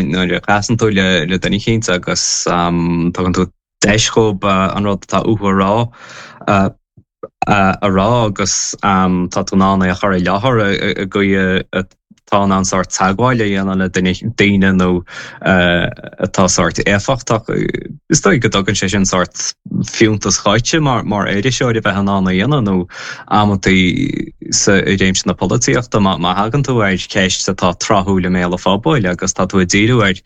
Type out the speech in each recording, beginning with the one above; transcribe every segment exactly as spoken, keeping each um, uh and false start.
Nuair a chasann tú le le duine eicínt agus tugann tú deis dhóibh an rud atá uathu a rá a rá agus tá tú in ann é a chur i láthair i gcaoi atá in ann sórt teagmháil a dhéanamh le duine daoine nó atá sórt éifeachtach. Is dóigh go dtugann sé sin sórt fiúntas dhuitse mar mar iriseoir a bheith in ann a dhéanamh nó amantaí sa i réimse na polaitíochta má má thagann tú ar cheist atá tráthúil i mbéal an phobail agus tá tú ag díriú ar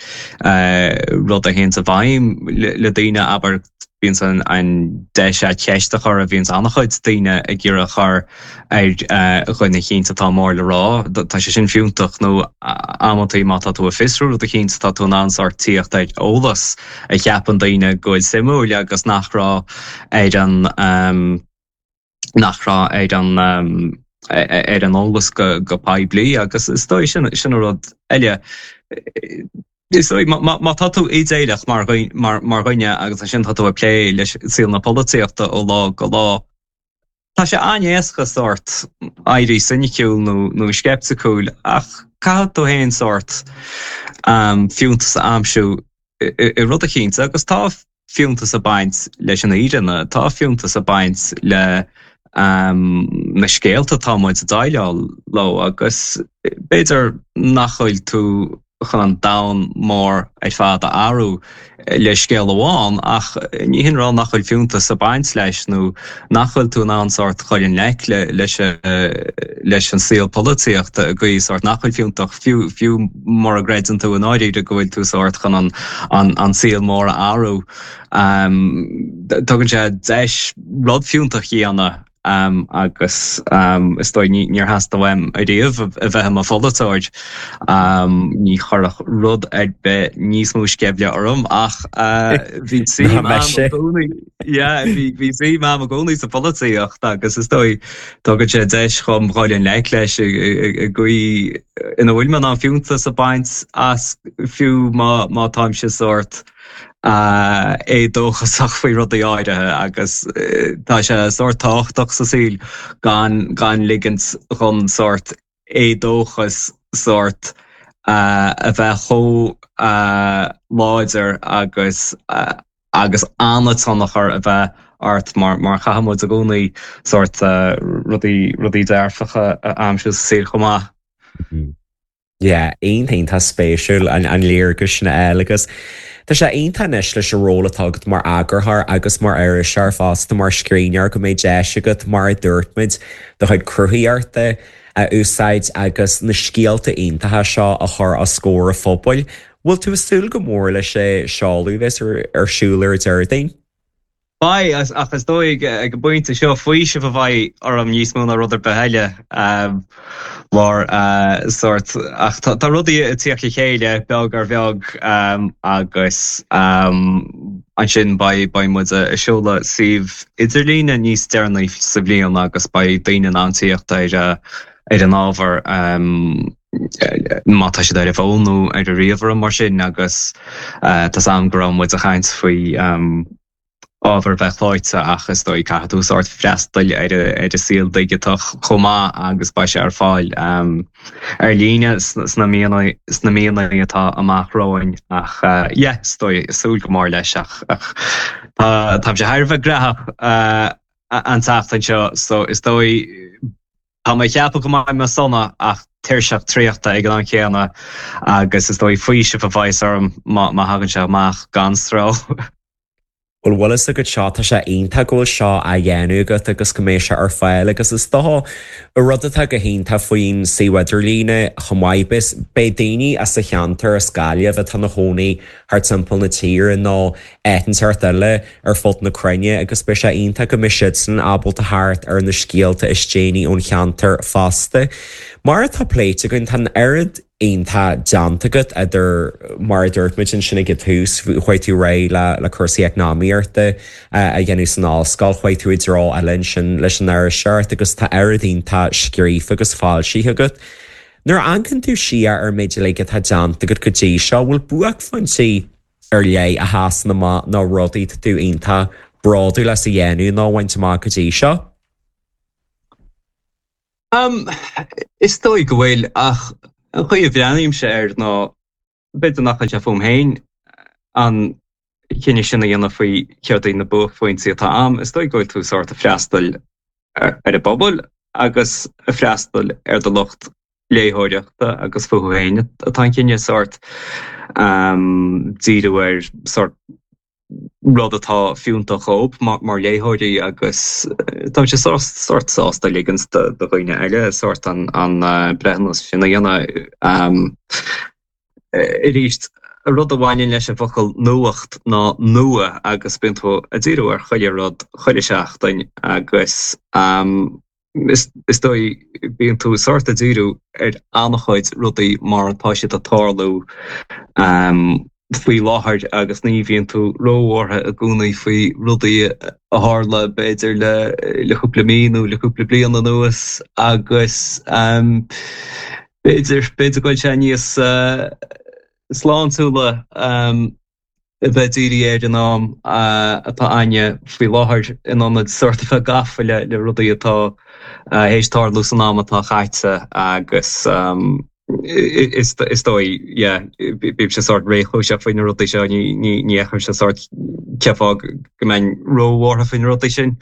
rud a théanns i bhfeidhm le daoine, abair, bíonns an an deis agat ceist a chur a bhíonns an-chuid daoine ag iarraidh a chur ar dhuine eicínt atá mór le rá, tá sé sin fiúntach nó amantaí má tá tú ag fiosrú rud eicínt tá tú in ann sórt tíocht ar eolas a cheapann daoine go bhfuil suimiúil agus nach raibh ar an nach raibh ar an ar an eolas go go poiblí agus is dóigh sin sin an rud eile. Is dóigh má tá tú idéalach mar mar dhuine agus ansin tá tú ag plé leis saol na polaitíochta ó lá go lá, tá sé an-éasca sórt éirí soiniciúil nó nó sceipticiúil ach caithfidh tú féin sórt fiúntas a aimsiú i rud eicínt agus tá fiúntas ag baint leis an fhírinne, tá fiúntas ag baint le na scéalta atá muid ag déileáil leo agus b'fhéidir nach bhfuil tú chun an domhan mór ar fad a athrú le scéal amháin ach ní hin rá nach bhfuil fiúntas ag baint leis nó nach bhfuil tú in ann sórt chur i ngleic le leis leis an saol polaitíochta i gcaoi sórt nach bhfuil fiúntach fiú fiú mura gcreideann tú i ndáiríre go bhfuil tú sórt chun an an an saol mór a athrú. Tugann sé deis rud fiúntach a dhéanamh agus is dóigh níor theastaigh uaim ariamh a bheith i mo pholaiteoir. Ní chuirfeadh rud ar bith níos mó sceimhle orm ach bhí suim agam i gcónaí yeah bhí suim agam i gcónaí sa pholaitíocht agus is dóigh tugann sé deis dhom dhul i ngleic leis i gcaoi ina bhfuil mé in ann fiúntas a bhaint as fiú má má táimse sórt éadóchasach faoi rudaí áirithe agus tá sé sórt tábhachtach sa saol gan gan ligint dhon sórt éadóchas sórt a bheith chomh láidir agus agus an-tionchar a bheith ort mar mar caithfidh muid i gcónaí sórt rudaí rudaí dearfacha a aimsiú sa saol chomh maith. Yeah, iontach iontach spéisiúil an an léargas sin a fháil agus tá sé iontach anois leis an ról atá agat mar eagarthóir agus mar iriseoir fosta mar scríbhneoir go mbeidh deis agat mar a dúirt muid do chuid cruthaíochta a úsáid agus na scéalta iontacha seo a chur os comhair an phobail. Bhfuil tú ag súil go mór leis an seoladh a bheas ar siúl ar an Déardaoin? Beidh, ach is dóigh ag an bpointe seo faoiseamh a bheidh orm níos mó ná rud ar bith eile mar sórt, ach tá rudaí ag tíocht le chéile beag ar bheag agus ansin beidh beidh muid ag seoladh suíomh idirlíne níos deireanaí sa bhliain agus beidh daoine in ann tíocht ar ar an ábhar má tá siad ar a bhfón nó ar a ríomhaire mar sin agus tá's a'm go raibh muid ag caint faoi ábhar a bheith clóite ach is dóigh caithfidh tú sórt freastal ar ar an saol digiteach chomh maith agus beidh sé ar fáil ar líne sna míonna sna míonna atá amach romhainn ach yeah is dóigh súil go mór leis ach ach tá táimse thar a bheith graitheach an tseachtain seo so is dóigh tá mé ag ceapadh go mbeidh mé sona ach tuirseach traochta ag an am céanna agus is dóigh faoiseamh a bheas orm má má thagann sé amach gan stró. Bhuel bhfuil fhios agat seo, tá sé iontach go bhfuil seo á dhéanamh agat agus go mbeidh sé ar fáil agus is dócha an rud atá go hiontach faoin suíomh idirlíne chomh maith, beidh beidh daoine as an cheantar, as Gaillimh, atá ina chónaí thart timpeall na tíre nó áit inteacht eile ar fud na cruinne agus beidh sé iontach go mbeidh siadsan ábalta theacht ar na scéalta is déanaí ón cheantar fosta. Mar atá pléite againn, tá an oiread iontach déanta agat idir, mar a dúirt muid ansin ag an tús, chuaigh tú ar aghaidh le le cúrsaí eacnamaíochta a dhéanamh san ollscoil, chuaigh tú i dtreo eile ansin leis an iriseoireacht agus tá oiread iontach scríofa agus foilsithe agat. Nuair a amharcann tú siar ar an méid uilig atá déanta agat go dtí seo, bhfuil buaicphointí ar leith a sheasann amach nó rudaí atá tú iontach bródúil as a dhéanamh nó a bhaint amach go dtí seo? Um, is dóigh go bhfuil ach an chaoi a bhreathnaímse air ná B'fhéidir nach bhfuil sé fúm féin an cinneadh sin a dhéanamh faoi céard iad na buaicphointí atá a'm. Is dóigh go bhfuil tú sórt ag freastal ar an bpobal agus ag freastal ar do lucht léitheoireachta agus fúthu féin atá an cinneadh sórt díriú ar sórt rud atá fiúntach dhóibh mar léitheoirí agus táimse sórt sásta ligint do dhaoine eile sórt an breithiúnas sin a dhéanamh. Arís, an rud a bhaineann leis an bhfocal nuacht ná nua agus bíonn tú ag díriú ar chuile rud chuile sheachtain agus is dóigh bíonn tú sórt ag díriú ar an-chuid rudaí mar atá siad ag tarlú faoi láthair agus ní bhíonn tú róbhuartha i gcónaí faoi rudaí a tharla b'fhéidir le le cúpla mí nó le cúpla bliain anuas agus b'fhéidir b'fhéidir go bhfuil sé níos sláintiúla a bheith dírithe ar an am atá againne faoi láthair in ionad sórt a bheith gafa le le rudaí atá théis tarlú san am atá caite agus is is dóigh yeah bímse sórt réchúiseach faoi na rudaí seo ní ní ní fheicimse sórt cén fáth go mbeinn róbhuartha faoi na rudaí sin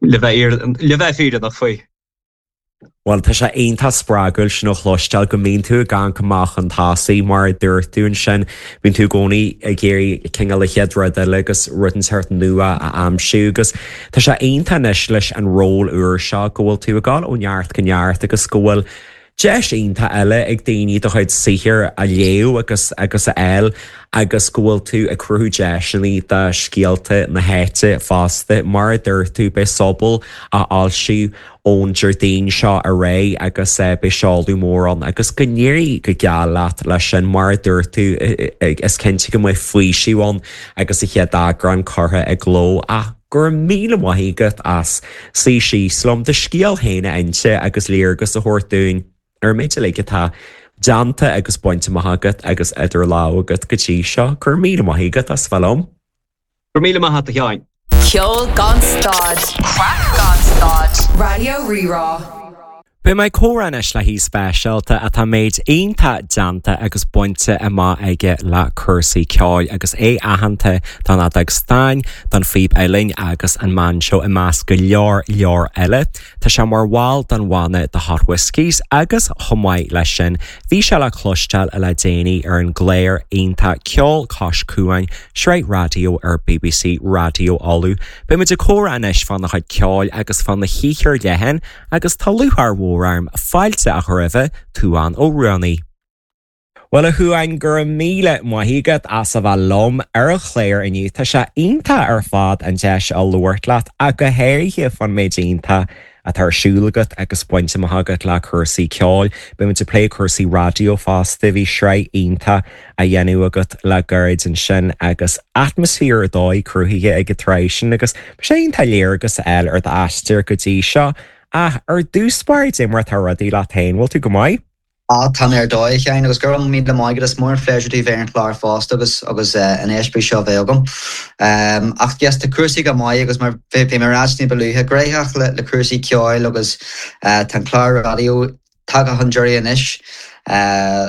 le bheith le bheith fírinneach faoi. Bhuel, tá sé iontach spreagúil sin a chloisteáil go mbíonn tú ag amharc amach chun tosaigh mar a dúirt tú ansin, bíonn tú i gcónaí ag iarraidh cineál an chéad rud eile agus rud inteacht nua a aimsiú agus tá sé iontach anois leis an ról úr seo go bhfuil tú ag dul ó neart go neart agus go bhfuil deis iontach eile ag daoine do chuid saothair a léamh agus agus a fháil agus go bhfuil tú ag cruthú deiseanna do scéalta na háite fosta. Mar a dúirt tú, beidh Sobal á fhoilsiú ón Déardaoin seo ar aghaidh agus beidh seoladh mór ann agus go n-éirí go geal leat leis sin. Mar a dúirt tú, is cinnte go mbeidh faoiseamh ann agus an chéad eagrán curtha i gcló ach go raibh míle maith agat as suí síos liom do scéal féin a inse agus léargas a thabhairt dúinn ar an méid uilig atá déanta agus bainte amach agat agus idir lámha agat go dtí seo. Go raibh míle maith agat as bheith liom. Go raibh míle maith agat a Sheáin. Ceol gan stad, craic gan stad, Raidió Rí-Rá. Beidh mé ag comhrá anois le haoi speisialta atá méid iontach déanta agus bainte amach aige le cúrsaí ceoil agus é aitheanta don fheadóg stáin, don phíb uilleann agus an mbainseó i measc go leor leor eile. Tá sé mar bhall den bhanna The Hot Whiskies agus chomh maith leis sin bhí sé le cloisteáil le déanaí ar an gclár iontach Ceol Cois Cuain, sraith raidió ar BBC Raidió Uladh. Beidh muid ag comhrá anois fána chuid ceoil agus fána shaothar leathan agus tá lúcháir mhór orm fáilte a chur roimhe, Tuán Ó Ruanaí. Bhuel a Thuáin, go raibh míle maith agat as a bheith liom ar an chlár inniu. Tá sé iontach ar fad an deis a labhairt leat ach go háirithe fán méid iontach atá ar siúl agat agus bainte amach agat le cúrsaí ceoil. Beidh muid ag plé cúrsaí raidió fosta, bhí sraith iontach á dhéanamh agat le gairid ansin agus atmaisféar ar dóigh cruthaithe ag an tsraith sin agus bhí sé iontach léargas a fháil ar d'aistear go dtí seo. Ach ar dtús báire, cad é mar atá rudaí leat féin, bhfuil tú go maith? Ah, tá mé ar dóigh, a Sheáin, agus go raibh míle maith agat. Is mór an phléisiúr domh bheith ar an chlár fosta agus agus an eispéireas seo a bheith agam. Ach yes, tá cúrsaí go maith agus mar bhí mé ag ráit ní ba luaithe, gnóthach le le cúrsaí ceoil agus tá an clár raidió tagtha chun deiridh anois.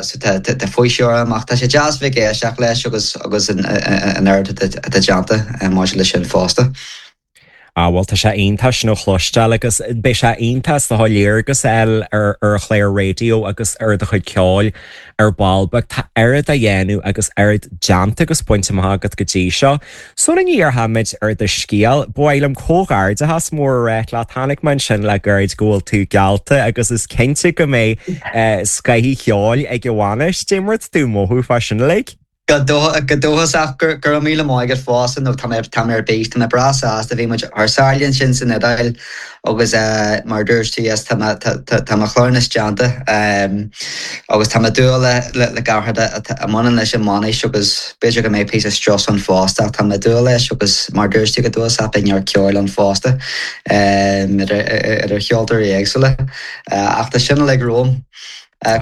So tá tá faoiseamh orm ach tá sé deas bheith ag éisteacht leis agus agus an an oiread atá déanta maidir leis sin fosta. Ah bhuel tá sé iontach sin a chloisteáil agus beidh sé iontach is dócha léargas a fháil ar ar an chlár raidió agus ar do chuid ceoil ar ball beag. Tá oiread á dhéanamh agus oiread déanta agus bainte amach agat go dtí seo. Sula ndíreoimid ar do scéal, ba mhaith liom comhghairdeachas mór a ráit leat. Chonaic mé ansin le gairid go bhfuil tú geallta agus is cinnte go mbeidh scoth cheoil ag an bhainis. Cad é mar atá tú ag mothú fá sin uilig? Go dóchasach, go raibh míle maith agat fosta nó tá mé tá mé ar bís, tá mé breá sásta, bhí muid thar sáile ansin san Iodáil agus mar a dúirt tú yes tá mé tá mo chlár anois déanta agus tá mé ag dúil le le gach rud a mbaineann leis an mbainis agus b'fhéidir go mbeidh píosa strus ann fosta ach tá mé ag dúil leis agus mar a dúirt tú go dóchasach beidh neart ceoil ann fosta idir idir cheoltóirí éagsúla ach tá sin uilig romham.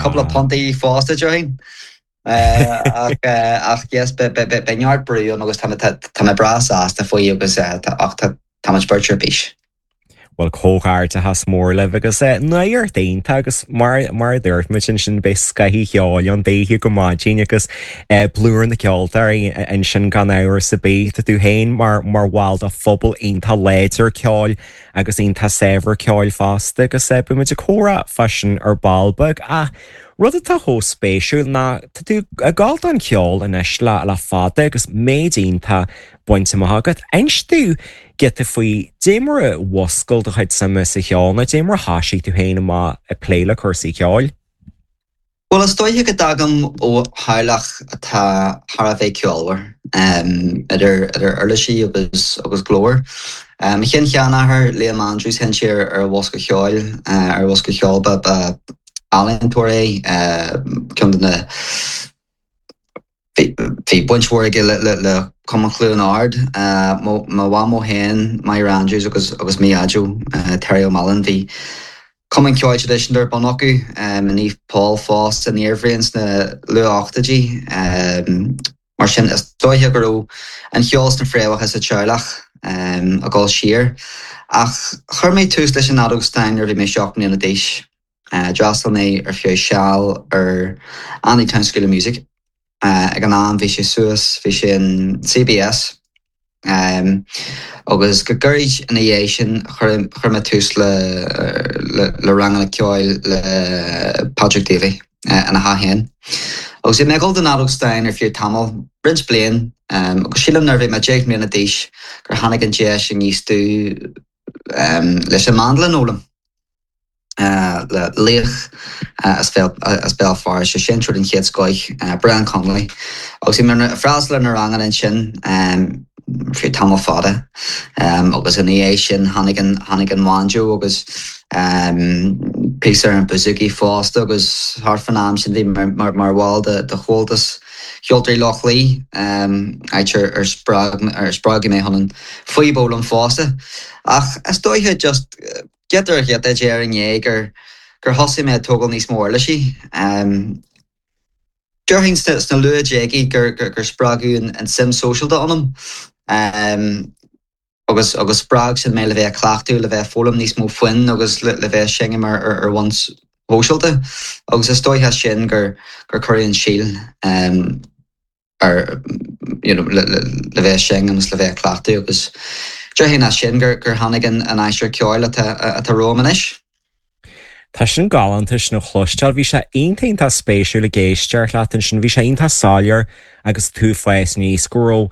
Cúpla puntaí fosta déarfainn. Ach ach yes beidh neart brú ann agus tá mé breá sásta faoi agus ach tá muid beirt ar bís. Bhuel comhghairdeachas mór libh agus nuacht iontach agus mar mar a dúirt muid ansin beidh scoth an cheoil ann daoithe go maidin agus plúr na ceoltóirí ansin gan amhras ar bith. Tá tú féin mar mar bhall de phobal iontach láidir ceoil agus iontach saibhir ceoil fosta agus beidh muid ag comhrá fá sin ar ball beag ach rud atá chomh spéisiúil ná tá tú ag gabháil don cheol anois le le fada agus méid iontach bainte amach agat. Inis domh giota faoi dé mar a mhúscail do chuid suime sa cheol nó dé mar a thosaigh tú féin amach ag plé le cúrsaí ceoil? Bhuel is dóiche go dtagaim ó theaghlach atá thar a bheith ceolmhar, idir idir uirlisí agus agus glór. Mo shin-sheanathair Liam Andrews sheinn sé ar ar bhosca cheoil ar bhosca cheoil ba ba ealaíontóir é, ceann de na Bhí baint mhór aige le Cumann Chluain Ard. Mo mhamó féin, Máire Andrews agus agus mo dhaideo, Terry O'Mallon, bhí cumann ceoil traidisiúnta ar bun acu i Naomh Paul fosta san iarbhliain sna luath-ochtóidí. Mar sin is dóiche go raibh an cheol sna fréamhacha sa teaghlach ag dul siar. Ach chuir mé tús leis an fheadóg stáin nuair a bhí mé seacht mbliana d'aois. D'fhreastail mé ar feadh seal ar Andytown School of Music. Ag an am bhí sé suas, bhí sé in CBS agus go gairid ina dhiaidh sin chuir chuir mé tús le le ranganna ceoil le Patrick Davey ina theach féin. Agus bhí mé ag dul don fheadóg stáin ar feadh tamall, roinnt bliain, agus sílim nuair a bhí mé deich mbliana d'aois gur tháinig an deis aníos domh leis an mandolin a fhoghlaim. le laoch as Béal Feirste, seinnteoir den chéad scoth, Brian Connolly. Agus bhí mé ag freastal ar na ranganna ansin ar feadh tamall fada agus ina dhiaidh sin tháinig an tháinig an banjo agus píosa ar an bouzouki fosta agus thart fán am sin bhí mé mar mar bhall de de Chomhaltas Cheoltóirí Loch Lao, áit ar ar spreag ar spreagadh mé chun an phíb a fhoghlaim fosta. Ach is dóiche just giota ar ghiota de ar ndiaidh gur gur thosaigh mé ag tógáil níos mó uirlisí. Déarfainn sna luathdhéagaí gur gur spreagadh an an suim sóisialta ionam agus agus spreag sin mé le bheith ag cleachtadh, le bheith ag foghlaim níos mó foinn agus le le bheith ag seinm ar ar ar bhonn shóisialta. Agus is dóiche sin gur gur cuireadh an síol ar you know, le, le, le bheith seinm agus le bheith ag cleachtadh agus déarfainn as sin gur gur tháinig an an aistear ceoil atá atá romham anois. Tá sin galánta sin a chloisteáil, bhí sé iontach spéisiúil ag éisteacht leat ansin, bhí sé iontach soiléir agus tú fás aníos go raibh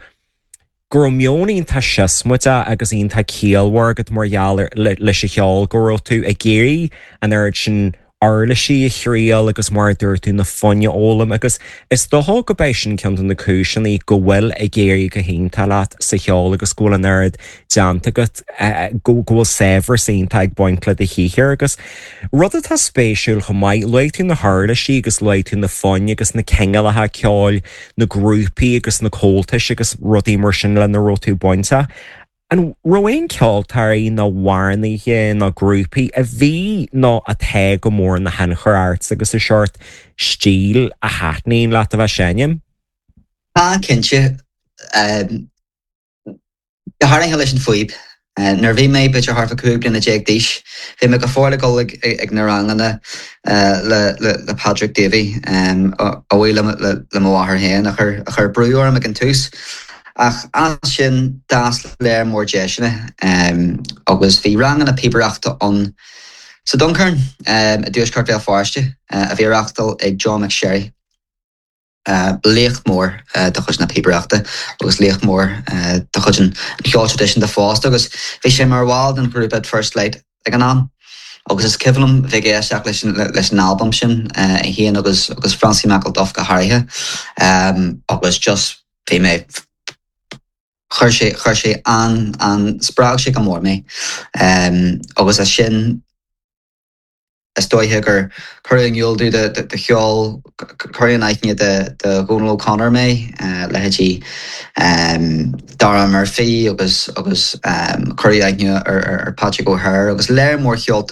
go raibh meon iontach siosmaideach agus iontach ciallmhar agat mar gheall leis an cheol, go raibh tú ag iarraidh an oiread sin uirlisí a thriail agus mar a dúirt tú na foinn a fhoghlaim agus is dócha go b'é sin ceann de na cúiseanna go bhfuil ag éirí go hiontach leat sa cheol agus go bhfuil an oiread déanta agat go go bhfuil saibhreas iontach ag baint le do shaothar agus rud atá spéisiúil chomh maith, luaigh tú na huirlisí agus luaigh tú na foinn agus na cineálacha ceoil, na grúpaí agus na comhaltais agus rudaí mar sin lena raibh tú bainteach. An raibh aon ceoltóirí nó amhránaithe nó grúpaí a bhí nó atá go mór ina thionchar ort agus an seort stíl a thaitníonn leat a bheith seinm? Tá cinnte go háirithe leis an phíb. Nuair a bhí mé b'fhéidir thart fá cúig bliana déag d'aois, bhí mé go fóill ag dul ag ag na ranganna le le le Patrick Davey a bhuí le le mo mháthair féin a chuir a chuir brú orm ag an tús. Ach as sin d'fhás léar mór deiseanna agus bhí ranganna píobaireachta ann sa Duncairn i dTuaisceart Bhéal Feirste a bhí á reáchtáil ag John McSherry. Laoch mór de chuid na píobaireachta agus laoch mór de chuid an cheoil traidisiúnta fosta agus bhí sé mar bhall den ghrúpa At First Light ag an am. Agus is cuimhin liom bheith ag éisteacht leis an leis an albam sin é féin agus agus Francie McIlduff go háirithe agus just bhí mé chuir sé chuir sé an an spreag sé go mór mé agus as sin is dóiche gur cuireadh in iúl domh de de cheol cuireadh in aithne de de Dhónal O'Connor mé leithéidí Dara Murphy agus agus cuireadh aithne ar ar Patrick O'Hare agus léar mór ceol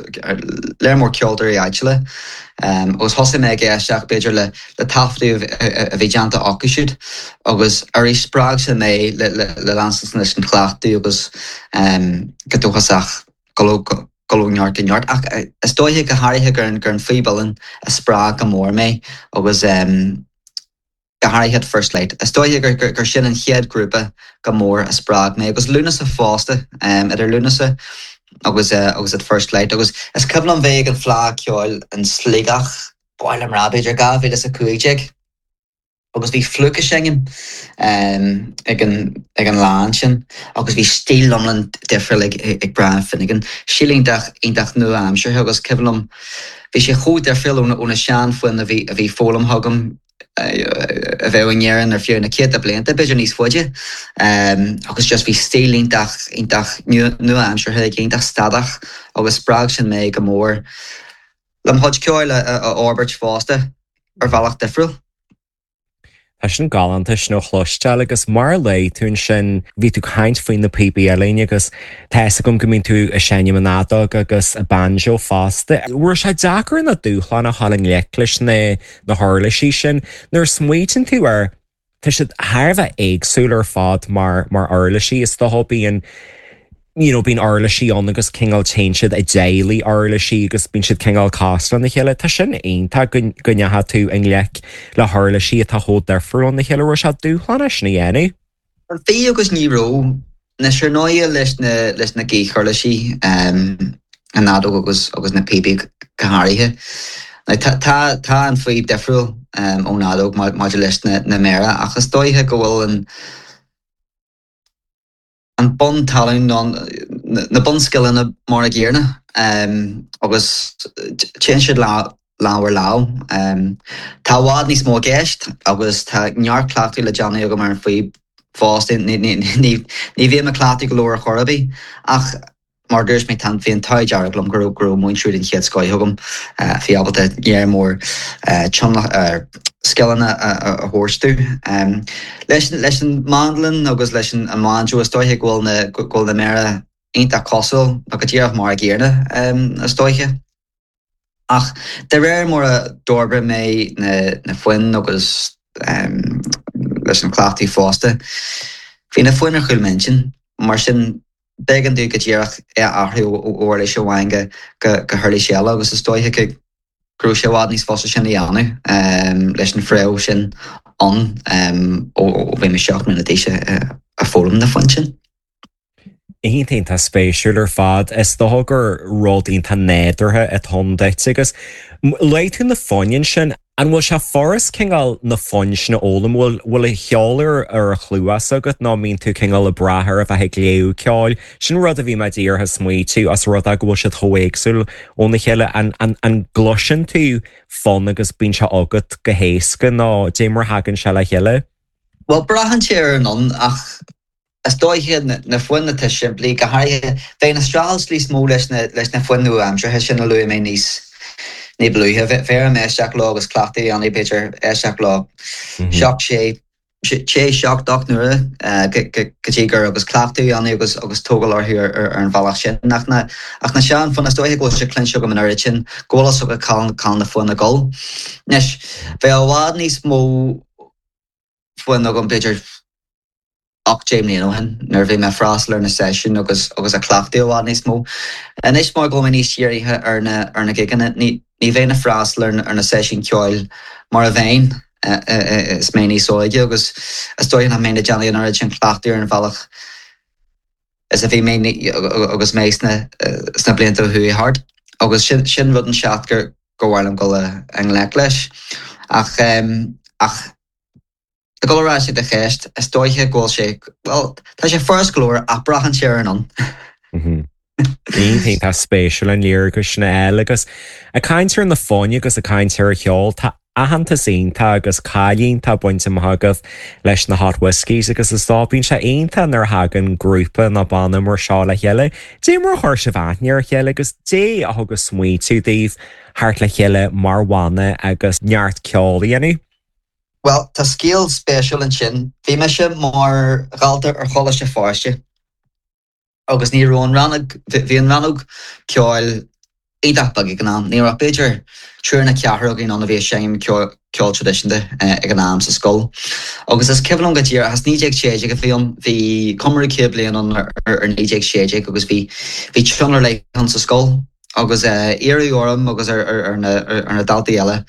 léar mór ceoltóirí áitiúla agus thosaigh mé ag éisteacht b'fhéidir le le taifeadtaí a bhí déanta acu siúd agus arís spreag sé mé le le le leanstan leis an chleachtadh agus go dóchasach dul ó neart go neart. Ach is dóiche go háirithe gur an gur an phíb uilleann a spreag go mór mé agus go háirithe At First Light. Is dóiche gur gur sin an chéad grúpa go mór a spreag mé agus Lúnasa fosta, idir Lúnasa agus agus At First Light. Agus is cuimhin liom bheith ag an Fleadh Ceoil in Sligeach, ba mhaith liom rá b'fhéidir dhá mhíle is a cúig déag agus bhí Flook ag seinm ag an ag an lá ansin agus bhí stíl iomlán difriúil ag ag Brian Finnegan, stíl iontach iontach nua-aimseartha agus cuimhin liom bhí sé chomh difriúil ó na sean-fhoinn a bhí a bhí foghlamtha agam a bheadh in Éirinn ar feadh na céadta blianta, b'fhéidir níos faide agus just bhí stíl iontach iontach nua-aimseartha aige, iontach stadach agus spreag sin mé go mór le mo chuid ceoil a fhorbairt fosta ar bhealach difriúil. Tá sin galánta sin a chloisteáil agus mar a luaigh tú ansin, bhí tú ag caint faoi na píopaí uilleann agus tá fhios agam go mbíonn tú ag seinm an fheadóg agus banjo fosta. Raibh sé deacair nó dúshlánach a dhul i ngleic leis na na huirlisí sin? Nuair a smaoitíonn tú air, tá siad thar a bheith éagsúil ar fad mar mar uirlisí. Is dócha bíonn you know, bíonn uirlisí ann agus cineál téann siad i dteaghlaigh uirlisí agus bíonn siad cineál cosúil lena chéile. Tá sin iontach go go ndeachaigh tú i ngleic le huirlisí atá chomh difriúil óna chéile. Raibh sé dúshlánach sin a dhéanamh? Bhí agus ní raibh. Anois ar ndóighe leis na leis na gaothuirlisí, an fheadóg agus agus na píopaí go háirithe. Now tá tá tá an phíb difriúil ón fheadóg maidir leis na na méara ach is dóiche go bhfuil an an bun talún nó na bunscileanna mar a gcéanna agus téann siad lámh ar lámh. Tá i bhfad níos mó i gceist agus tá neart cleachtaidh le déanamh agam ar an phíb fosta. Ní bhím ag cleachtadh go leor ar chor ar bith ach mar a dúirt mé, tá bhí an t-ádh dearg liom go raibh go raibh múinteoir den chéad scoith agam a bhí ábalta léar mór scileanna a thabhairt domh. Leis leis an mandolin agus leis an mbanjo is dóiche go bhfuil na go bhfuil na méara iontach cosúil nó go díreach mar a gcéanna is dóiche. Ach de réir mar a d'fhorbair mé na na foinn agus leis an chleachtadh fosta, bhí na foinn ar chúl m'intinn, mar sin b'éigean domh go díreach é a athrú ó uirlis amháin go go huirlis eile agus is dóiche go raibh sé i bhfad níos fusa sin a dhéanamh leis an phréamh sin ann ó bhí mé seacht mbliana d'aois ag foghlaim na foinn sin. Iontach iontach spéisiúil ar fad. Is dócha gur rud iontach nádúrtha atá ann duit agus luaigh tú na foinn ansin. An bhfuil sé furast cineál na foinn sin a fhoghlaim? Bhfuil bhfuil an ceol ar ar a chluas agat nó mbíonn tú cineál ag brath ar a bheith ag léamh ceoil? Sin rud a bhí mé díreach ag smaoitiú as rud é go bhfuil siad chomh éagsúil óna chéile. An an an gcloiseann tú fonn agus bíonn sé agat go héasca nó dé mar a thagann sé le chéile? Bhuel, braitheann sé ar an fhonn ach Is dóiche na foinn atá simplí, go háirithe, bheadh an streachailt níos mó leis na leis na foinn nua-aimseartha sin a luaigh mé níos ní ba luaithe. Bheadh orm éisteacht leo agus cleachtadh a dhéanamh, b'fhéidir, éisteacht leo seacht, sé, sé, seacht, ocht n-uaire go dtí gur agus cleachtadh a dhéanamh agus agus tógáil orthu ar an bhealach sin. Ach na ach na sean-fhoinn, is dóiche go bhfuil sé cluinte agam an oiread sin go bhfuil fhios agat cá bhfuil na foinn ag dul. Anois, bheadh i bhfad níos mó foinn agam, b'fhéidir, ocht deich mbliana ó shin nuair a bhí mé ag freastal ar na seisiúin agus agus ag cleachtadh i bhfad níos mó. Anois mar go bhfuil mé níos dírithe ar na ar na gigeanna, ní ní bheinn ag freastal ar ar na seisiúin ceoil mar a bheinn is mé níos óige agus is dóigh nach mbeinn ag déanamh an oiread sin cleachtaidh ar an bhealach is a bhí mé agus mé sna sna blianta a chuaigh thart. Agus sin sin rud inteacht gur gur mhaith liom dul i ngleic leis. Ach ach Ag dul ar ais ag do cheist, is dóiche go bhfuil sé, bhuel, tá sé furast go leor ach braitheann sé ar an fhonn. Iontach spéisiúil an léargas sin a fháil agus ag caint ar na foinn agus ag caint ar an cheol, tá aitheantas iontach agus cáil iontach bainte amach agaibh leis na Hot Whiskies agus is dóigh bíonn sé iontach nuair a thagann grúpa nó banna mar seo le chéile. Dé mar a chuir sibh aithne ar a chéile agus dé a thug an smaoitiú daoibh theacht le chéile mar bhanna agus neart ceoil a dhéanamh? Bhuel, tá scéal spéisiúil ansin. Bhí mise mar dhalta ar Choláiste Feirste agus ní raibh an rannóg, bhí an rannóg ceoil iontach beag ag an am. Ní raibh b'fhéidir triúr nó ceathrar againn ann a bhí ag seinm ceol traidisiúnta ag an am sa scoil. Agus is cuimhin liom go díreach, as naoi déag sé déag a bhí ann, bhí comóradh céad bliain ann ar naoi déag sé déag agus bhí bhí tionól ar leith ann sa scoil agus iarradh orm agus ar na daltaí eile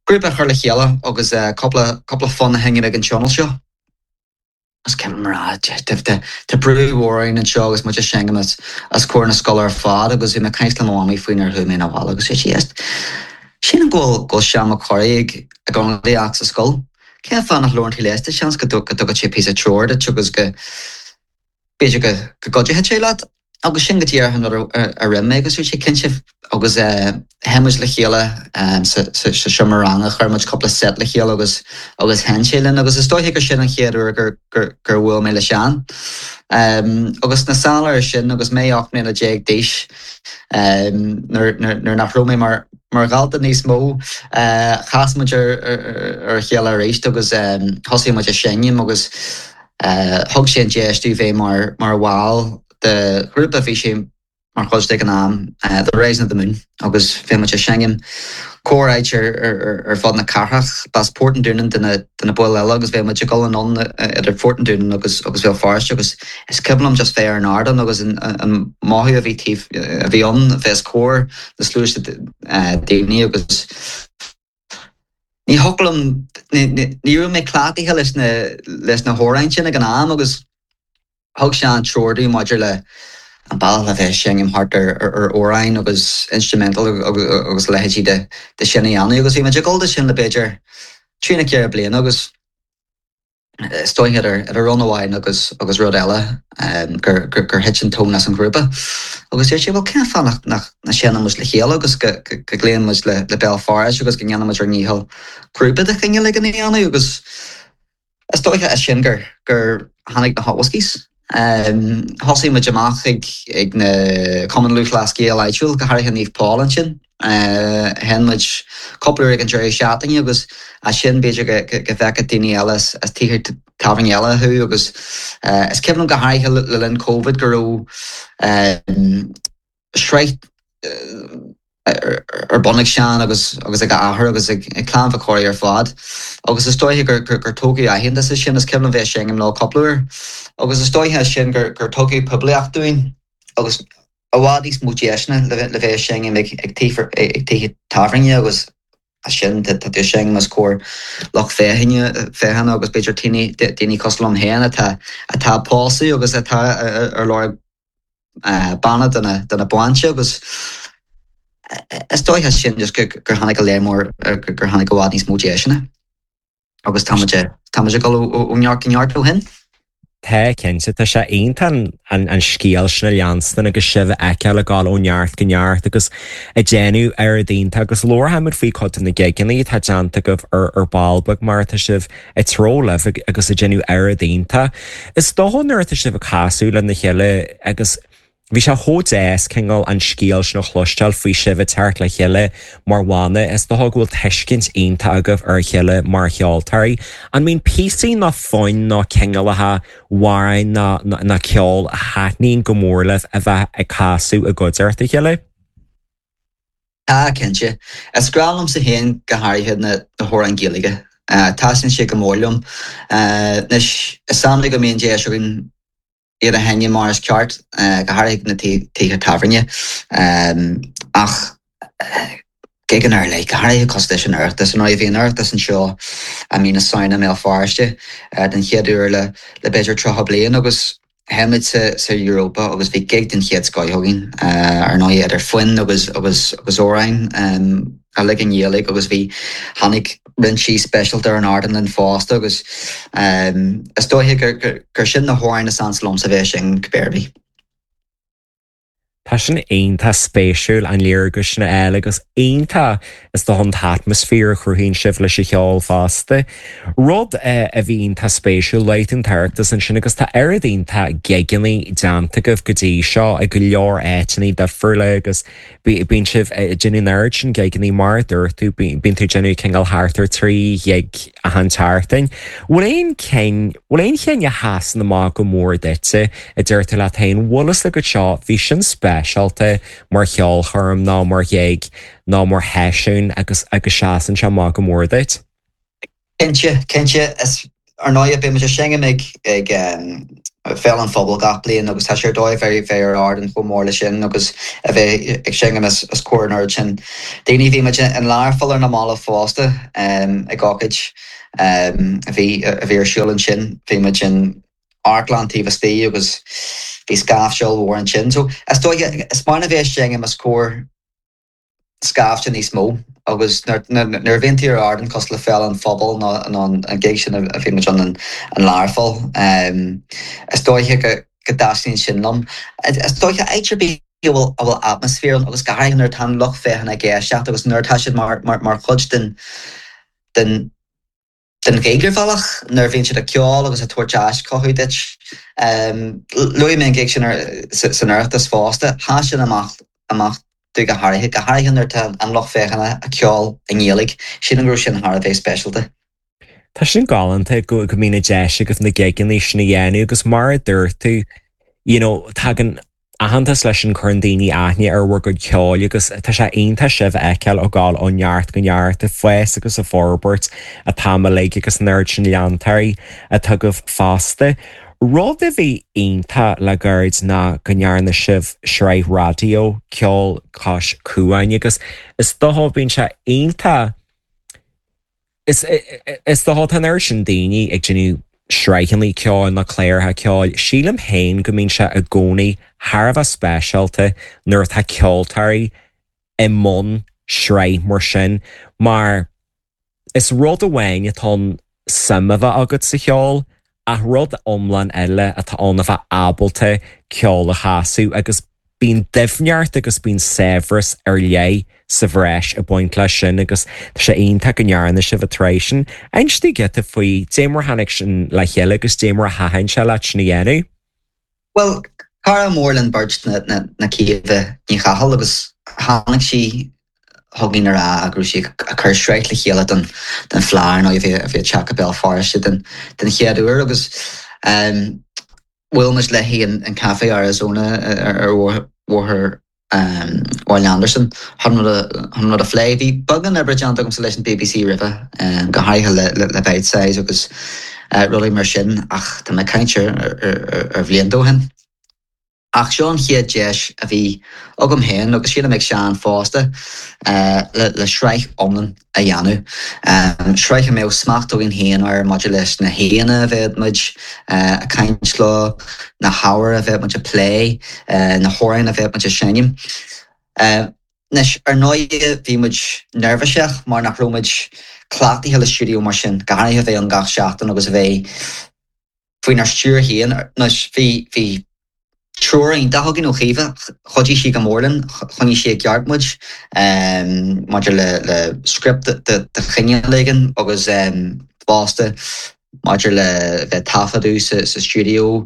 grúpa a chur le chéile agus cúpla cúpla fonn a sheinm ag an tionól seo. Is cuimhin liom a rá, tá brú mhór orainn anseo agus muid ag seinm os comhair na scoile ar fad agus bhí mé ag caint le mo mhamaí faoi nuair a chuaigh mé abhaile agus dúirt sí, éist, sílim go bhfuil go bhfuil Seán Mac Corraidh ag ag ionadaíocht sa scoil. Cén fáth nach labhrann tú leis? Tá seans go dtugann sé píosa treoir duit agus go b'fhéidir go go gcuideoidh sé leat. Agus sin go díreach an rud a rinne mé agus dúirt sé cinnte agus sheinn muid le chéile sa seomra ranga, chuir muid cúpla set le chéile agus agus sheinn sé linn agus is dóiche gur sin an chéad uair gur gur gur bhuail mé le Seán. Agus sna sála air sin agus mé ocht mbliana déag d'aois nuair nuair nach raibh mé mar mar dhalta níos mó, chas muid ar ar a chéile arís agus thosaigh muid ag seinm agus thug sé an deis domh bheith mar mar bhall de ghrúpa a bhí sé mar chuid de ag an am, The Rising of the Moon, agus bhí muid ag seinm corr-áit ar fud na cathrach. B'as Port an Dúnáin do na baill eile agus bhí muid ag dul anonn idir Port an Dúnáin agus agus Bhéal Feirste agus is cuimhin liom just bheith ar an ardán agus an mothú a bhí taobh a bhí ann bheith os comhair na sluaite daoine agus ní thiocfadh liom ní raibh mé cleachtaithe leis na leis na hamhráin sin ag an am agus thug sé an treoir dom maidir le an bealach le bheith ag seinm thart ar ar amhráin agus instrumental agus leithéidí de de sin a dhéanamh agus bhí muid ag dul de sin le b'fhéidir trí nó ceithre bliana agus is dóiche idir idir rud amháin agus agus rud eile gur gur gur thit an tóin as an ghrúpa. Agus dúirt sé well cén fáth nach nach seinneann muid le chéile agus go go gcloíonn muid le le Béal Feirste agus go ndéanann muid ár ndícheall grúpa de chineál éigin a dhéanamh agus is dóiche as sin gur gur tháinig na Hot Whiskies. Thosaigh muid amach ag ag na Cumann Lúthchleas Gael áitiúil, go háirithe Naomh Paul ansin. Sheinn muid cúpla uair ag an deireadh seachtaine agus as sin b'fhéidir go go bhfeicfeadh daoine eile as as tithe tábhairne eile thú agus is cuimhin liom go háirithe le linn Covid go raibh sraith ar bun ag Seán agus agus ag a athair agus ag clann Mhic Corraidh ar fad. Agus is dóiche gur gur tógadh aitheantas as sin, is cuimhin liom bheith ag seinm leo cúpla uair. Agus is dóiche as sin gur gur tugadh poiblíocht dúinn agus i bhfad níos mó deiseanna le le bheith ag seinm ag ag ag tithe tábhairne agus as sin tá tú ag seinm os comhair lucht féachana féachana agus b'fhéidir daoine daoine cosúil liom féin atá atá ag pósadh agus atá ar lorg banna do na do na bainse agus is dóiche as sin just gur tháinig go léir mór gur tháinig i bhfad níos mó deiseanna agus tá muid tá muid ag dul ó neart go neart ó shin. Tá cinnte tá sé iontach an an scéal sin a leanstan agus sibh a fheiceáil ag dul ó neart go neart agus ag déanamh oiread iontach agus labharfaimid faoi chuid de na gigeanna atá déanta agaibh ar ar ball beag mar atá sibh ag treabhadh libh agus ag déanamh oiread iontach. Is dócha nuair atá sibh ag casadh lena chéile agus Bhí sé chomh deas cineál an scéal sin a chloisteáil faoi sibh ag teacht le chéile mar bhanna. Is dócha go bhfuil tuiscint iontach agaibh ar a chéile mar cheoltóirí. An mbíonn píosaí nó foinn nó cineálacha amhráin nó nó ceol a thaitníonn go mór libh a bheith ag casadh i gcuideachta a chéile? Tá, cinnte. Is grá liomsa féin go háirithe na hamhráin Gaeilge. Taitníonn siad go mór liom. Anois, is annamh go mbíonn deis againn iad a sheinm mar is ceart, go háirithe na tithe tábhairne. Ach gigeanna ar leith, go háirithe cosúil leis an Oireachtas. Ar ndóigh, bhí an Oireachtas anseo i mí na Samhna i mBéal Feirste den chéad uair le le b'fhéidir tríocha bliain agus sheinn muid sa sa Europa agus bhí gig den chéad scoth againn, ar ndóigh idir foinn agus agus agus amhráin. uilig i nGaeilge agus bhí, tháinig roinnt aoi speisialta ar an ardán linn fosta agus is dóiche gur gur sin na hamhráin is ansa liomsa bheith ag seinm cibé ar bith. Tá sin iontach spéisiúil an léargas sin a fháil agus iontach is dócha an t-atmaisféar a chruthaíonn sibh leis an cheol fosta. Rud a bhí iontach spéisiúil, luaigh tú an tOireachtas ansin agus tá oiread iontach gigeanna déanta agaibh go dtí seo i go leor áiteanna difriúla agus Bíonn sibh ag déanamh an oiread sin gigeanna mar a dúirt tú, bíonn tú ag déanamh cineál thart ar trí ghig achan tseachtain. Bhfuil aon cinn, bhfuil aon chinn a sheasann amach go mór duitse, a deir tú leat féin, bhfuil fhios agat seo, bhí sin speisialta mar cheolchoirm ná mar ghig ná mar sheisiún agus agus seasann sé amach go mór duit? Cinnte, cinnte. Is ar ndóigh beidh muid ag seinm ag ag Féile an Phobail gach bliain agus tá sé ar dóigh bheith bheith ar ardán chomh mór leis sin agus a bheith ag seinm os os comhair an oiread sin daoine. Bhí muid in Learpholl ar na mallaibh fosta ag ócáid a bhí a bhí ar siúl ansin. Bhí muid in amharclann taobh istigh agus bhí scaifte ollmhór ansin. So is dóiche is maith a bheith ag seinm os comhair scaifte níos mó agus nuair a bhíonn tú ar ardán cosúil le Féile an Phobail nó nó an gig sin a bhí muid ann in Learpholl, is dóiche go go dtaitníonn sin liom. Is dóiche áit ar bith a bhfuil a bhfuil atmaisféar ann agus go háirithe nuair atá an lucht féachana ag éisteacht agus nuair atá siad mar mar mar chuid den den den ghig ar bhealach, nuair a bhíonn siad ag ceol agus ag tabhairt aischothú duit. Luaigh mé an gig sin san Oireachtas fosta, sheas sin amach amach domh go háirithe, go háirithe nuair atá an lucht féachana ag ceol i nGaeilge. Sílim go raibh sin thar a bheith speisialta. Tá sin galánta go go mbíonn an deis agat na gigeanna sin a dhéanamh agus mar a dúirt tú, you know, tagann aitheantas leis sin cuireann daoine aithne ar bhur gcuid ceoil agus tá sé iontach sibh a fheiceáil ag gabháil ó neart go neart, ag fás agus ag forbairt an t-am uilig agus an oiread sin leantóirí atá agaibh fosta. Rud a bhí iontach le gairid ná go ndearna sibh sraith raidió, Ceol Cois Cuain agus is dócha bíonn sé iontach, Is dócha tá an oiread sin daoine ag déanamh sraitheanna ceoil nó cláracha ceoil, sílim féin go mbíonn sé i gcónaí thar a bheith speisialta nuair atá ceoltóirí i mbun sraith mar sin mar is rud amháin atá ann suim a bheith agat sa cheol ach rud iomlán eile atá ann a bheith ábalta ceol a chasadh agus Bíonn doimhneacht agus bíonn saibhreas ar leith sa bhreis ag baint leis sin agus tá sé iontach go ndearna sibh an tsraith sin. Inis dúinn giota faoi dé mar tháinig sin le chéile agus dé mar a thaitin sé leat sin a dhéanamh. Bhuel, cara mór linn beirt ná Caoimhe Ní Chathail agus tháinig sí chugainn a rá go raibh sí ag cur sraith le chéile don Fleadh, ar ndóigh, a bhí ag teacht go Béal Feirste den chéad uair agus Bhuail muid léi in Café Arizona ar Bhóthar Bhaile Andarsan chun rud a phlé. Bhí beagán oibre déanta agamsa leis an bbc roimhe, go háirithe le Bitesize agus rudaí mar sin, ach tá mé ag caint ar bhlianta ó shin. Ach seo an chéad deis a bhí agam féin, agus sílim ag Seán fosta, le sraith iomlán a dhéanamh. Sraith a mbeadh smacht againn féin air maidir leis na haíonna a bheadh muid ag caint leo, na hábhair a bheadh muid ag plé, na hamhráin a bheadh muid ag seinm. Anois, ar ndóigh, bhí muid neirbhíseach mar nach raibh muid cleachtaithe le stiúideo mar sin, go háirithe a bheith ann gach seachtain agus a bheith faoinár stiúir féin. Anois, bhí, bhí treoir iontach againn ó Chaoimhe, chuidigh sí go mór linn, choinnigh sí i gceart muid maidir le le script de chineál éigin agus fosta maidir le bheith ag taifeadadh sa sa stiúideo.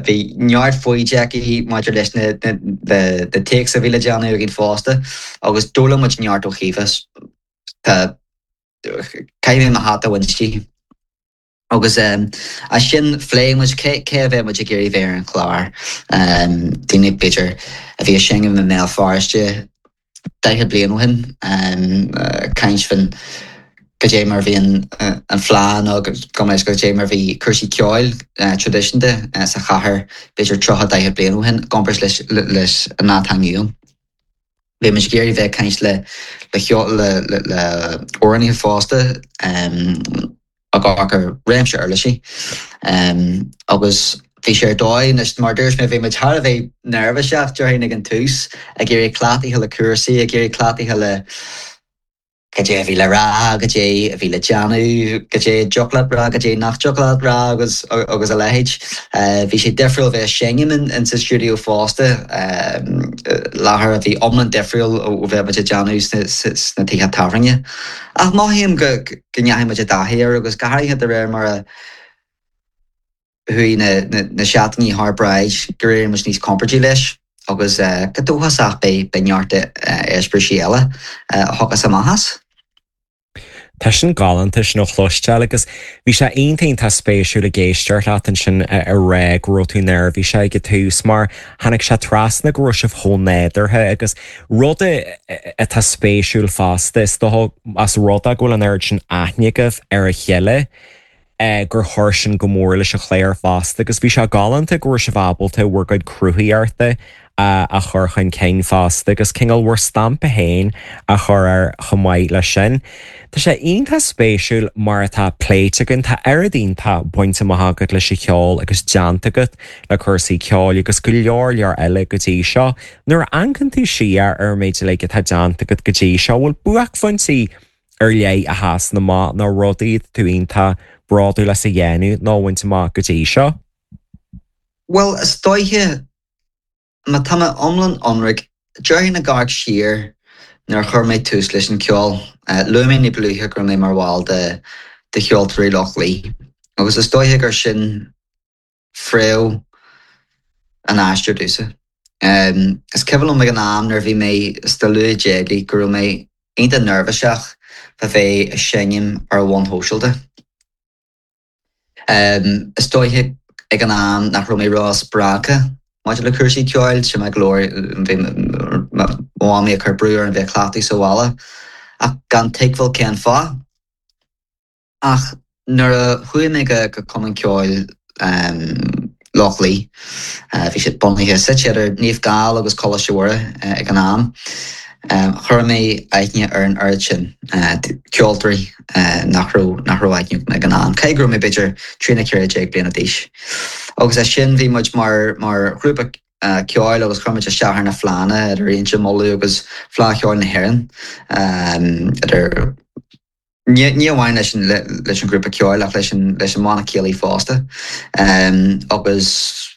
Bhí neart foighde aici maidir leis na na takes a bhí le déanamh againn fosta agus d'fhoghlaim muid neart ó Chaoimhe. Tá, caithfidh mé mo hata a bhaint di. Agus as sin phléigh muid cé cé a bheadh muid ag iarraidh bheith ar an chlár. Daoine b'fhéidir a bhí ag seinm i mBéal Feirste daichead bliain ó shin, caint faoin cad é mar a bhí an an Fleadh nó gabh mo leithscéal cad é mar a bhí cúrsaí ceoil traidisiúnta sa chathair b'fhéidir tríocha daichead bliain ó shin i gcomparáid leis leis an lá atá inniu ann. Bhí muid ag iarraidh bheith ag caint le le le le amhránaithe fosta ag amharc ar réimse uirlisí agus bhí sé ar dóigh anois mar a dúirt mé bhí muid thar a bheith neirbhíseach déarfainn ag an tús ag iarraidh cleachtaithe le cúrsaí ag iarraidh cleachtaithe le cad é a bhí le rá, cad é a bhí le déanamh, cad é a dtiocfadh leat rá, cad é nach dtiocfadh leat rá agus agus a leithéid. Bhí sé difriúil bheith ag seinm in sa stiúideo fosta, láthair a bhí iomlán difriúil ó bheith muid ag déanamh sna tithe tábhairne. Ach mothaím go go ndeachaigh muid i dtaithí air agus go háirithe de réir mar a chuaigh na seachtainí thar bráid gur éirigh muid níos compordaí leis agus go dóchasach beidh neart eispéirisí eile a thiocfas amach as. Tá sin galánta sin a chloisteáil agus bhí sé iontach spéisiúil ag éisteacht leat ansin a rá go raibh tú neirbhíseach ag an tús mar tháinig sé trasna go raibh sibh chomh nádúrtha agus rud atá spéisiúil fosta is dócha as rud é go bhfuil an oiread sin aithne agaibh ar a chéile gur chuir sin go mór leis an chlár fosta agus bhí sé galánta go raibh sibh ábalta bhur gcuid cruthaíochta a chur chun cinn fosta agus cineál bhur stampa féin a chur air chomh maith leis sin. Tá sé iontach spéisiúil mar atá pléite againn, tá oiread iontach bainte amach agat leis an cheol agus déanta agat le cúrsaí ceoil agus go leor leor eile go dtí seo. Nuair a amharcann tú siar ar an méid uilig atá déanta agat go dtí seo, bhfuil buaicphointí ar leith a sheasann amach nó rudaí atá tú iontach bródúil as a dhéanamh nó a bhaint amach go dtí seo? Bhuel, is dóiche Má tá mé iomlán ionraic, déarfainn ag amharc siar nuair a chuir mé tús leis an cheol, luaigh mé ní ba luaithe go raibh mé mar bhall de de Cheoltóirí Loch Lao agus is dóiche gur sin fréamh an aistir domhsa. Is cuimhin liom ag an am nuair a bhí mé sna luath déagaí go raibh mé iontach neirbhíseach fá bheith ag seinm ar bhonn shóisialta. Is dóiche ag an am nach raibh mé ró-spreagtha maidir le cúrsaí ceoil, sin mé go leor, bhí mo mhamaí ag cur brú orm bheith ag cleachtadh sa bhaile ach gan tuigbheáil cén fáth. Ach nuair a chuaigh mé go go Cumann Ceoil Loch Lao, bhí siad bunaithe suite idir Naomh Gall agus Coláiste Mhuire ag an am, Chuir mé aithne ar an oiread sin ceoltóirí nach raibh nach raibh aithne agam ag an am, cé go raibh mé b'fhéidir trí nó ceithre déag bliana d'aois. Agus as sin bhí muid mar mar ghrúpa ceoil agus chuir muid isteach ar na fleánna idir Inse Muladh agus Fleadh Cheoil na hÉireann idir ní ní amháin leis an leis an ghrúpa ceoil ach leis an leis an mbanna céilí fosta. Agus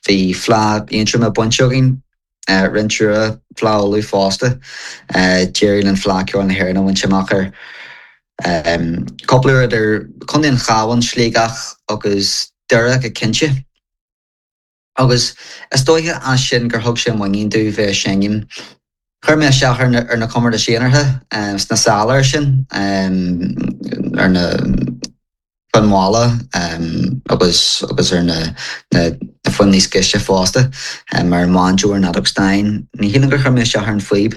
bhí Fleadh Aontroma bainte againn roinnt uaire Fleadh Uladh fosta. D'éirigh linn Fleadh Ceoil na hÉireann a bhaint amach ar cúpla uair idir Contae an Chabháin, Sligeach agus Doire go cinnte. Agus is dóiche as sin gur thug sé muinín domh bheith ag seinm. Chuir mé isteach ar na ar na comórtais aonartha sna sála air sin ar na foinn mhalla agus agus ar na na foinn níos gaiste fosta mar an mbanjo ar an fheadóg stáin. Ní shílim gur chuir mé isteach ar an phíb.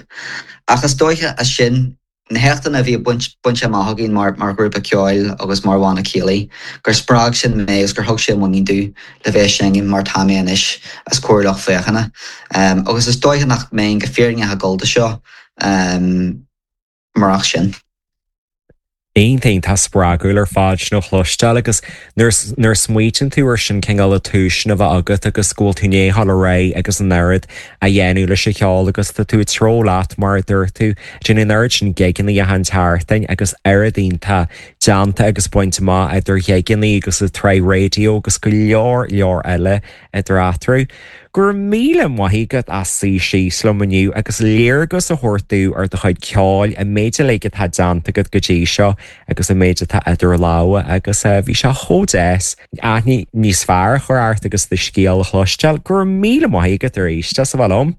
Ach is dóiche as sin na héachtanna a bhí bainte amach againn mar mar ghrúpa ceoil agus mar bhanna céilí, gur spreag sin mé agus gur thug sé muinín domh le bheith ag seinm mar tá mé anois os comhair lucht féachana. Agus is dóiche nach mbeinn go fírinneach ag dul do seo murach sin. Iontach spreagúil ar fad sin a chloisteáil agus nuair nuair a smaoitíonn tú ar sin cineál an tús sin a bheith agat agus go bhfuil tú i ndiaidh dul ar aghaidh agus an oiread a dhéanamh leis an cheol agus tá tú ag treabhadh leat mar a dúirt tú, déanamh an oiread sin gigeanna achan tseachtain agus oiread iontach déanta agus bainte amach idir ghigeanna agus an tsraith raidió agus go leor leor eile idir eatarthu. Go raibh míle maith agat as suí síos liom inniu agus léargas a thabhairt domh ar do chuid ceoil, an méid uilig atá déanta agat go dtí seo agus an méid atá idir lámha agus bhí sé chomh deas aithne níos fearr a chur ort agus do scéal a chloisteáil. Go raibh míle maith agat arís as a bheith liom.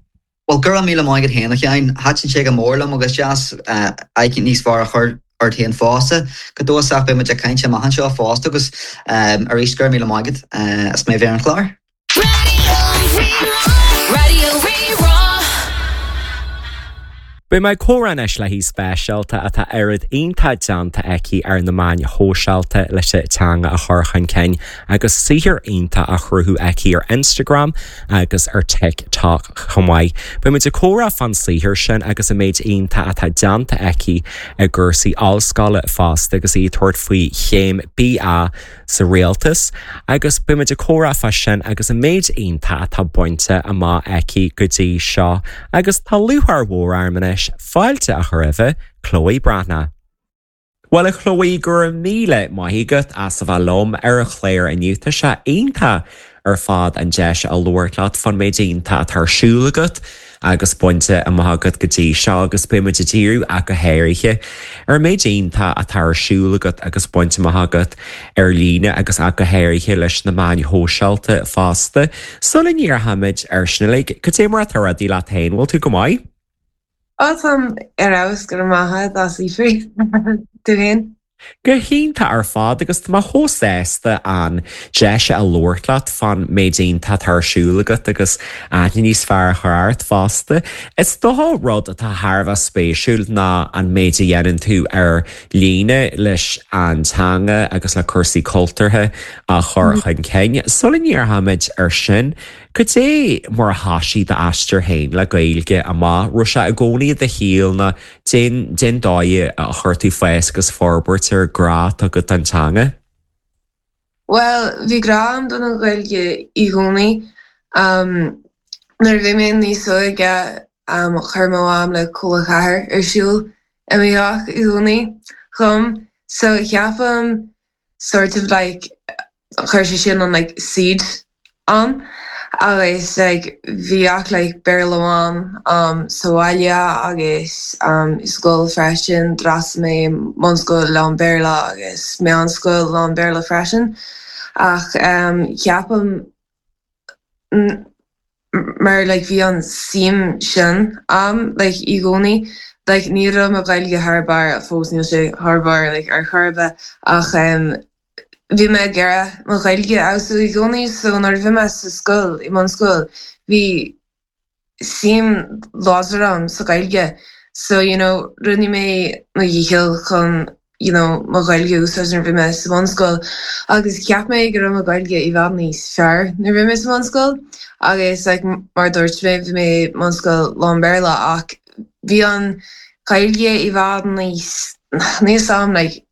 Bhuel, go raibh míle maith agat féin, a Sheáin. Thaitin sé go mór liom agus deas aithne níos fearr a chur ort féin fosta. Go dóchasach beidh muid ag caint amach anseo fosta agus arís go raibh míle maith agat as mé bheith ar an chlár. Radio Rí-Rá. Beidh mé ag comhrá anois le haoi speisialta atá oiread iontach déanta aici ar na meáin shóisialta leis an teanga a chur chun cinn agus saothar iontach á chruthú aici ar Instagram agus ar TikTok chomh maith. Beidh muid ag comhrá fán saothar sin agus an méid iontach atá déanta aici i gcúrsaí ollscoile fosta agus í ag tabhairt faoi chéim BA sa rialtas agus beidh muid ag comhrá fá sin agus an méid iontach atá bainte amach aici go dtí seo agus tá lúcháir mhór orm anois fáilte a chur roimh Chloe Breathnach. Bhuel a Chloe go raibh míle maith agat as a bheith liom ar an chlár inniu tá sé iontach ar fad an deis a labhairt leat fán méid iontach atá ar siúl agat agus bainte amach agat go dtí seo agus beidh muid ag díriú ach go háirithe ar an méid iontach atá ar siúl agat agus bainte amach agat ar líne agus ach go háirithe leis na meáin shóisialta fosta. Sula ndíreoimid ar sin uilig, cad é mar atá rudaí leat féin, bhfuil tú go maith? Ó táim ar fheabhas go raibh maith agat as fiafraí. Tú féin? Go hiontach ar fad agus tá mé chomh sásta an deis a labhairt leat fán méid iontach atá ar siúl agat agus aithne níos fearr a chur ort fosta. Is dócha rud atá thar a bheith spéisiúil ná an méid a dhéanann tú ar líne leis an teanga agus le cúrsaí cultúrtha a chur chun cinn. Sula ndíreoimid ar sin, Cad é mar a thosaigh d'aistear féin le Gaeilge amach raibh sé i gcónaí i do shaol nó cén cén dóigh a chuir tú fás agus forbairt ar grá atá agat don teanga? Well, bhí grá agam don an Ghaeilge i gcónaí. Um, nuair a bhí mé níos óige um, chuir mo mham le Cúla Ceathair ar siúl i mo theach i gcónaí chum. So ceapaim sort of like chuir sé sin an like seed ann agus like bhí ach like Béarla amháin um, sa bhaile agus um, i scoil freisin d'fhreastail mé bunscoil lán Béarla agus meánscoil lán Béarla freisin ach um, ceapaim mar like bhí an suim sin um, like i gcónaí like ní raibh mo Ghaeilge thar barr fós níl sé thar barr like ar chor ar bith ach um, bhí mé ag iarraidh mo Ghaeilge a fheabhsú i gcónaí so nuair a bhí mé sa scoil i mbunscoil bhí suim láidir agam sa Ghaeilge so you know rinne mé mo dhícheall chun you know mo Ghaeilge a úsáid nuair a bhí mé sa bhunscoil agus cheap mé go raibh mo Ghaeilge i bhfad níos fearr nuair a bhí mé sa bhunscoil agus like mar dúirt mé bhí mé bunscoil lán Béarla ach bhí an Ghaeilge i bhfad níos níos am like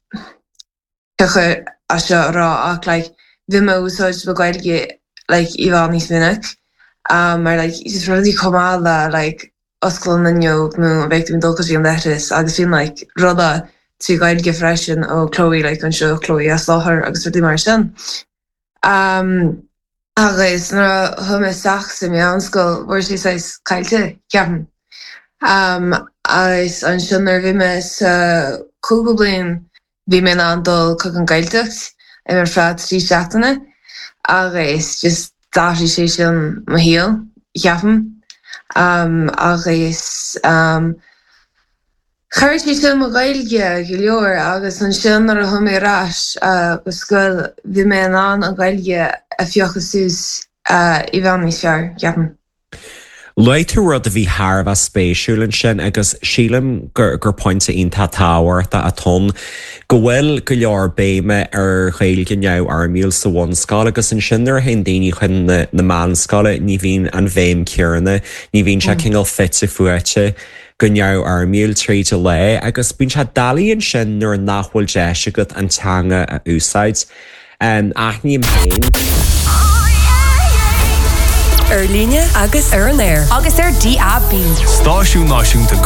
chuir as seo a rá ach like bhí mé úsáid mo Ghaeilge like i bhfad níos minic um, mar like just rudaí chomh maith le like oscail an fhuinneog nó bheidh tú dul go dtí an leithreas agus bhíonn like rudaí trí Ghaeilge freisin ó Chloe like anseo Chloe as láthair agus rudaí mar sin. Um, agus nuair a chuaigh mé isteach sa meánscoil bhí sé saghas caillte ceapaim. Um, agus ansin nuair a bhí mé sa cúigiú bliain bhí mé an dul chuig an Gaeltacht ar feadh trí seachtaine agus just d'athraigh sé sin mo shaol ceapaim. Um, agus um, Chuir sé sin mo Ghaeilge go leor agus ansin nuair a chuaigh mé ar ais uh, go scoil bhí mé in ann an Ghaeilge a phiocadh suas uh, i bhfad níos fearr ceapaim. Luaigh tú rud a bhí thar a bheith spéisiúil ansin agus sílim gur gur pointe iontach tábhachtach atá ann go bhfuil go leor béime ar Ghaeilge neamhfhoirmiúil sa bhunscoil agus ansin nuair a théann daoine chun na, na meánscoile ní bhíonn an bhéim chéanna, ní bhíonn sé cineál fite fuaite go neamhfhoirmiúil tríd an lá agus bíonn sé doiligh ansin nuair nach bhfuil deis agat an teanga a úsáid. Um, Aithním féin. Ar líne agus ar an aer. Agus ar DAB. Stáisiún náisiúnta